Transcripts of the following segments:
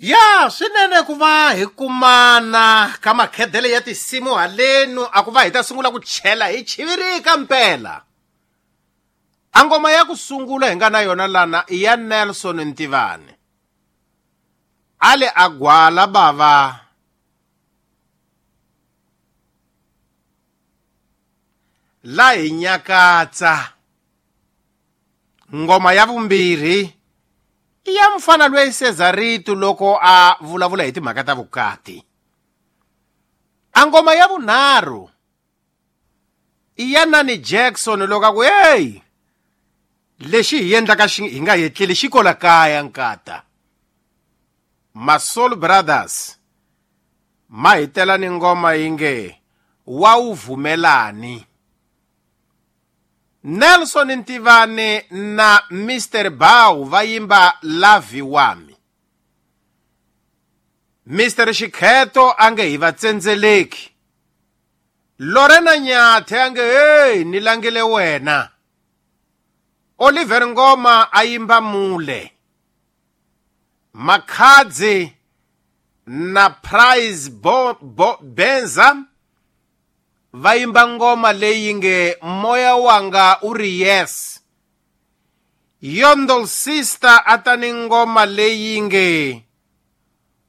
Ya swinene ku va hi kumana ka makhedele ya tinsimu halenu a ku va hi ta sungula ku chela hi chivirika mpela. A ngoma ya ku sungula hi nga na yona lana i ya Nelson Ntivani. A le a gwala bava la hi nyakatsa. Ngoma ya vumbirhi i ya mfana loyi Cesarito loko a vulavula hi timhaka ta vukati. A ngoma ya vunharhu i ya Nani Jackson loko a ku hey lexi hi endlaka xi hi nga yetleli xi kola kaya nkata. Masol Brothers ma hi tela ni ngoma yi nge wa wu vumelani. Nelson Ntivani na Mr Bow va yimba Lavi Wami. Mr Xikheto a nge hi va tsendzeleki. Lorena Nyathe a nge hey ni langile wena. Oliver Ngoma a yimba Mule. Makhadzi na Prize Bo, Bo, Benza va yimba ngoma leyi nge moya wanga u ri yes. Yondol Sister a ta ni ngoma leyi nge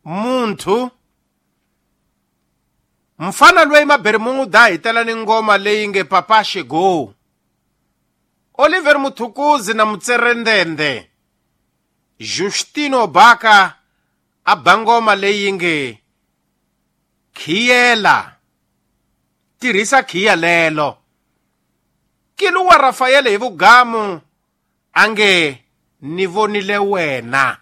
Muntu. Mfana loyi Mabermuda hi tela ni ngoma leyi nge Papa Shego. Oliver Muthukuzi na Mutserendende. Justino Baka a ba ngoma leyi nge Khiyela. Tirhisa khiya lelo. Kiluwa Rafael hi vugamu a nge ni vonile wena.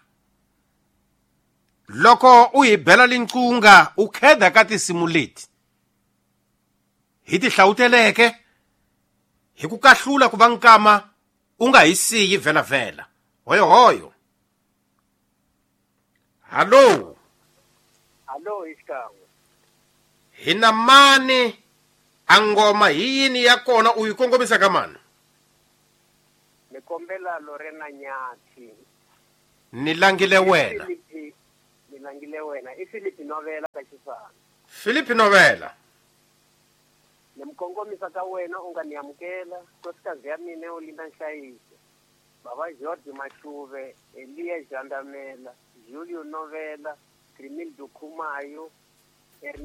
Loko u hi bela linqunga u kheda ka tinsimu leti hi ti hlawuteleke hi ku kahlula ku va nkama u nga hi siyi vhelavhela. Hoyohoyo. Hallo. Hallo hi xikan'we. Hi na mani a ngoma hi yini ya kona u yi kongomisa ka mani? Ni kombela Lorena Nyathi. Ni langile wena. Ni langile wena. I Philip Novela ka Xisana. Philip Novela. Ni mi kongomisa ka wena u nga ni amukela. Nkosikazi ya mina u Linda Nhlayiso. Baba George Mashuve, Eliya Jandamela, Julio Novela, Crimildo Khumayo,